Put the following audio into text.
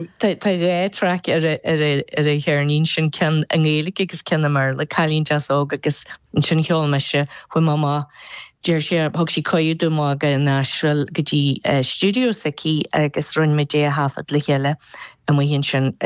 Tá 2 traic ar an cheirnín sin, ceann i nGaeilge agus ceann i mBéarla, Cailín Deas Óg agus ansin cheol mise, chuaigh mé amach, deir sé, thug sí cuireadh dom amach go Nashville go dtí stiúideo s'aici agus rinne muid é a thaifead le chéile amuigh ansin.